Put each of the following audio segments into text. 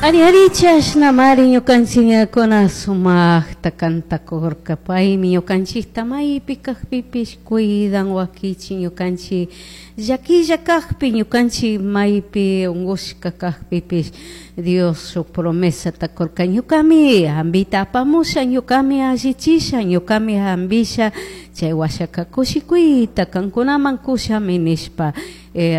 Ari ari chashnamari ñukanchikuna sumaqta kantakurka paymi ñukanchikta maypi kaqpipish cuidan wakichin ñukanchik llaquilla kaqpi ñukanchik maypi unqushka kaqpipish Dios shuk promesata kurka ñukami hambita apamusha ñukami allichisha ñukami hambisha chay washaka kushikuyta kankunaman kushami nishpa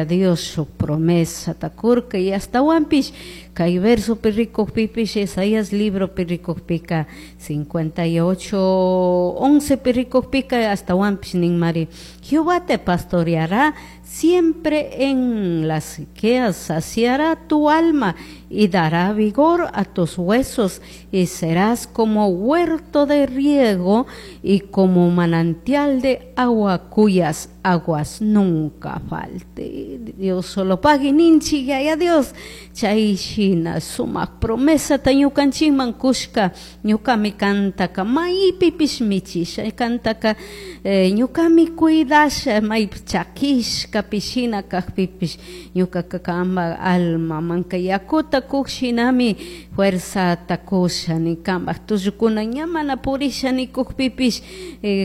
Dios shuk promesata kurka y astawanpish kay versopi rikukpipish Isaías libropi rikukpika 58:11 pi rikukpika astawanpish ninmari Jehová te pastoreará siempre en las sequías, saciará tu alma y dará vigor a tus huesos y serás como huerto de riego y como manantial de agua cuyas aguas nunca falte. Dios solo pagui ninchik Yaya Dios chay shina sumak promesata ñukanchikman kushka ñukami kantaka maypipish michisha kantaka ñukami cuidasha maypi chakishkapi shina kakpipish ñukaka kanpak almamanka yakuta kuk shinami fuerzata kusha ni kanpak tullukuna ña mana purisha nikukpipish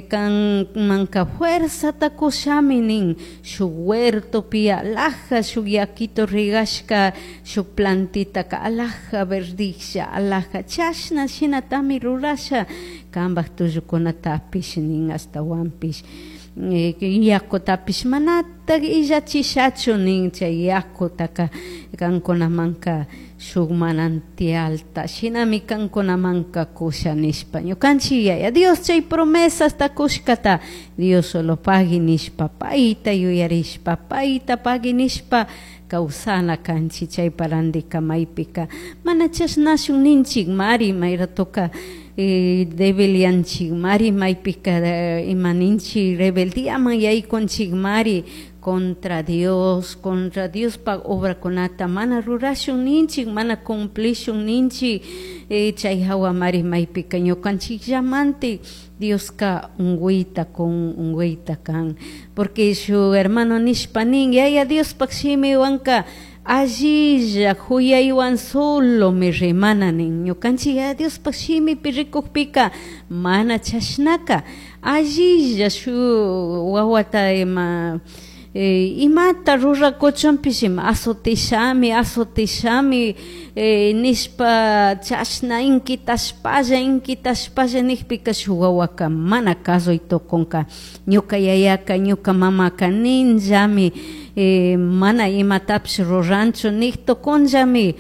kanmanka fuerzata kushami nin shuk huertopi alhaja shuk yakito regashka shuk plantitaka alhaja verdijlla alhaja chashna shinatami rurasha kanpak tullukunatapish nin ashtawanpish yakutapish manatak illachishachu nin chay yakutaka kankunamanka shuk manantialta shinami kankunamanka kusha nishpa ñukanchik Yaya Dios chay promesasta kushkata Dios solo pagui nishpa payta yuyarishpa payta pagui nishpa kawsana kanchik chaypa randika maypika mana chashnashun ninchik mari may ratoka debilyanchik mari maypika ima ninchik rebeldiaman yaykunchik mari contra Dios, contra Diospak obrakunata mana rurashun ninchik mana cumplishun ninchik chay hawa mari maypika ñukanchikllamante Dioska unguyta kun unguyta kan porque shuk hermano nishpa nin Yaya Diospak shimiwanka allilla huyaywan solomi rimana nin ñukanchik Yaya Diospak shimipi rikukpika mana chashnaka allilla shuk wawata ima imata rurakuchunpish ima azotishami azotishami nishpa chashna inquitashpalla inquitashpalla nijpika shuk wawaka mana kasuy tukunka ñuka yayaka ñuka mamaka ninllami mana imatapish ruranchu nik tukunllami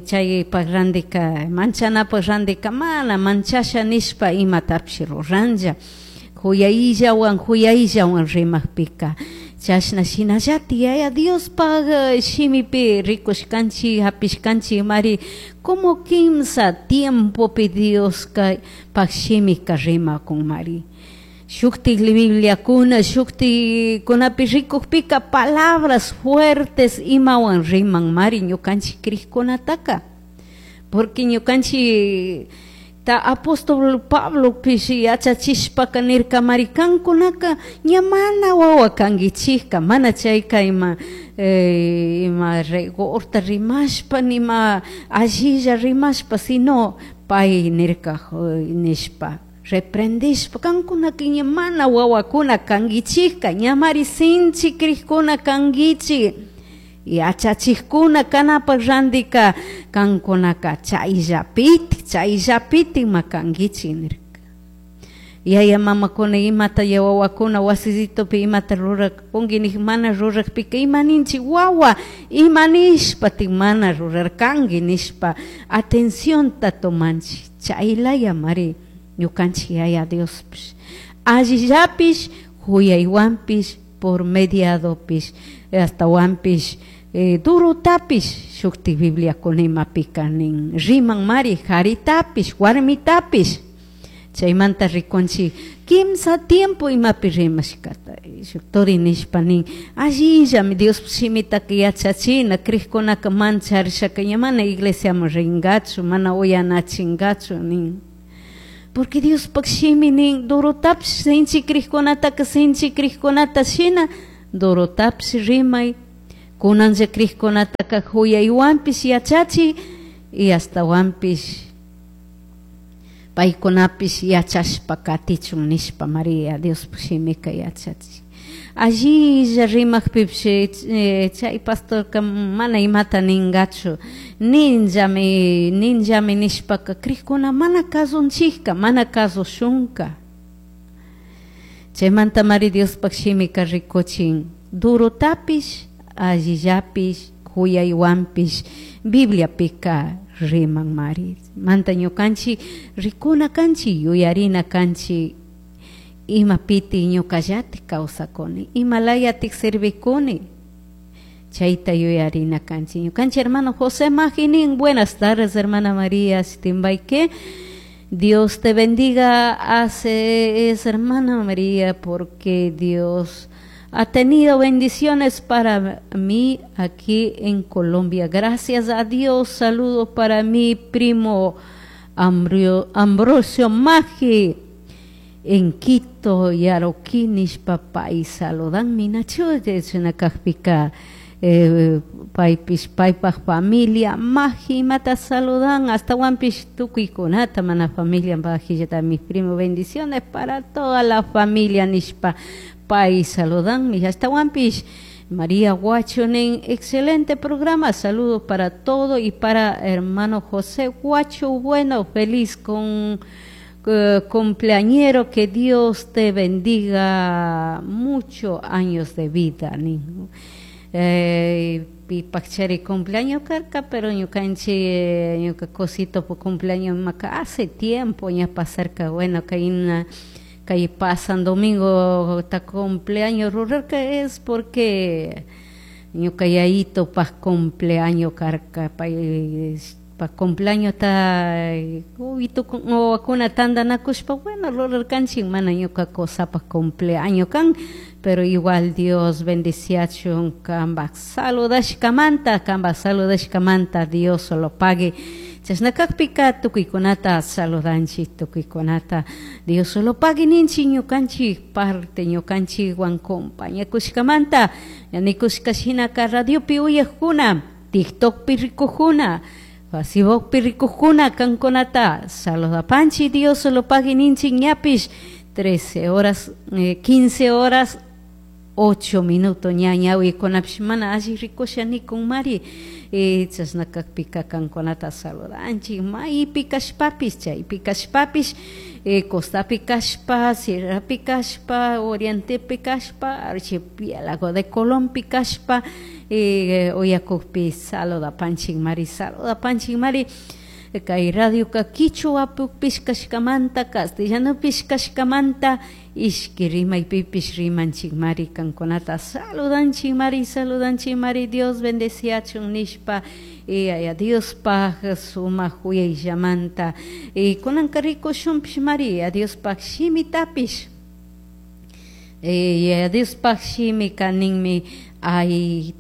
chaypak randika manchanapak randika mana manchasha nishpa imatapish ruranlla huyayllawan huyayllawan rimakpika chashna shinallatik Yaya Diospak shimipi rikushkanchik hapishkanchik mari como kimsa tiempopi Dioska pak shimika rimakun mari shuktik Bibliakuna shuktikunapi rikukpika palabras fuertes imawan riman mari ñukanchik krikkunataka porque ñukanchik ta apóstol Pablo pish yachachishpaka nirka mari kankunaka ña mana wawa kankichikka mana chayka ima ima rigorta rimashpa nima allilla rimashpa sino pay nirka nishpa reprendishpa kankunaka ña mana wawakuna kankichikka ña mari sinchi krikuna kankichik yachachikkuna kanapak randika kankunaka chayllapitik chayllapitik ma kankichik nirka yaya mamakuna imata ya wawakuna wasisitupi imata rurakunki nik mana rurakpika ima ninchik wawa ima nishpatik mana rurarkanki nishpa atencionta tomanchik chaylaya mari ñukanchik Yaya Diospish allillapish huyaywanpish por mediadopish astawanpish durutapish shuktik Bibliakuna imapika nin riman mari karitapish warmitapish chaymanta rikunchik kimsa tiempo imapi rimashkata shuk turi nishpa nin allillami Dios shimitaka yachachina krikkunaka mancharishaka ña mana iglesiaman rinkachu mana uyanachinkachu nin porque Diospak shimi nin durutapish sinchi krikkunataka sinchi krikkunata shina durutapish rimay Kunanlla crijkunataka huyaywanpish yachachi y astawanpish paykunapish yachashpa katichun nishpa Maria Diospaj shimika yachachi. Allilla rimajpipish chay pastorka mana imata ningachu, ninllami ninllami nishpaka crijkuna mana kasunchikka, mana kasushunka. Chaymanta Mari Diospaj shimika rikuchin durotapish allillapish huyaywanpish Bibliapika riman mari. Manta ñukanchik rikuna kanchik, yuyarina kanchik, imapiti ñukallatik kawsakuni, imalayatik servikuni, chayta yuyarina kanchik. Ñukanchik hermano José Maginin, buenas tardes hermana María Sitimbayque. Dios te bendiga, hace es hermana María, porque Dios ha tenido bendiciones para mí aquí en Colombia. Gracias a Dios. Saludos para mi primo Ambrosio Maggi en Quito, Yaroquinis, papá, y saludan mi nacho, kajpika paypish paypaj familia Maggi mata saludan hasta wanpish tukuykunata mana familia bajillata mis primo, bendiciones para toda la familia nishpa pay saludan hasta wanpish María Guacho nin, excelente programa, saludos para todo y para hermano José Guacho, bueno, feliz con cumpleañero, que Dios te bendiga muchos años de vida. Pipachari cumpleaños carca, pero ñukanchik ñuka cosito por cumpleaños maca hace tiempo ya pasarca, bueno, que una que pasan domingo ta cumpleaños rural que es porque ñuka yayito pa cumpleaños carca pa pa cumpleaños ta uy kuna tandanakushpa bueno rurarkanchik mana ñuka cosa pa cumpleaños kan, pero igual Dios bendiciachun kambaj saludashkamanta, kambaj saludashkamanta Dios lo pague. Chashna kakpika tukuykunata saludanchik, tukuykunata Dios lo pague ninchik ñukanchik parte ñukanchikwan compañakushkamanta, nikushka shinaka radiopi uyajkuna, TikTokpi rikujuna, Facebookpi rikujuna kankunata saludapanchik, Dios lo pague ninchik ñapish 13 horas, 15 horas 8 minutos ña ñawikunapish mana alli rikusha nikun mari, chashna kakpika kankunata saludanchik maypi kashpapish chaypi kashpapish, costapi kashpa, sierrapi kashpa, orientepi kashpa, archipiélago de Colompi kashpa, uyakukpi saludapanchik mari, saludapanchik mari. Kay radioka quichuapish kashkamanta, castellanopish kashkamanta, ishki rimaypipish rimanchik mari, kankunata saludanchik mari, saludanchik mari, Dios bendeciachun nishpa, y Diospaj sumak huyayllamanta, y kunanka rikushunpish mari, Diospaj shimitapish, y Diospaj shimika ninmi hay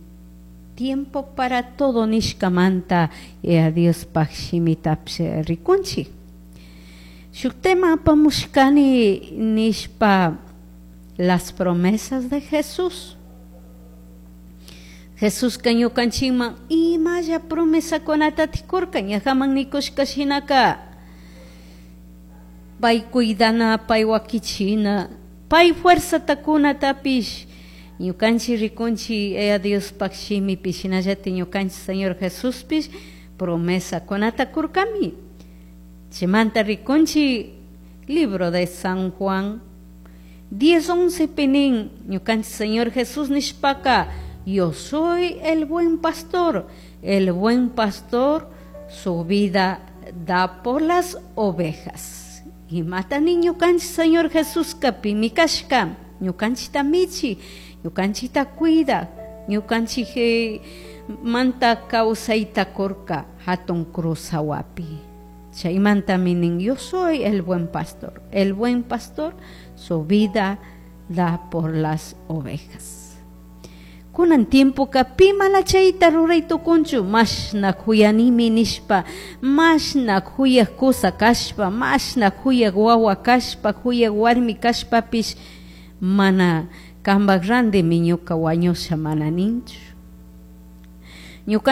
tiempo para todo nishkamanta, y a Diospaj shimitapish rikunchik. Shuk tema apamushkani nishpa las promesas de Jesús. Jesús ñukanchikman imalla promesakunata tikurka, ñajaman nikushka shinaka pay cuidana, pay wakichina, pay fuerzata kunatapish ñukanchik rikunchik Diospaj shimipi shinallatik ñukanchik Señor Jesuspish promesakunata kurkami. Chaymanta rikunchik libro de San Juan 10:11 pinin ñukanchik Señor Jesús nishpaka, yo soy el buen pastor, el buen pastor su vida da por las ovejas. Y mata ñukanchik Señor Jesús pimi kashka, ñukanchikta michi, ñukanchikta cuida, ñukanchik manta kawsayta kurka hatun cruz hawapi. Chaymanta minin, yo soy el buen pastor, el buen pastor su vida da por las ovejas. Kunan tiempoka pi mana chayta ruray tukunchu, mashna huyanimi nishpa, mashna huyak kusa kashpa, mashna huyak wawa kashpa, huyak warmi kashpapish, mana kambaj randimi ñuka wañusha mana ninchu. Ñuca.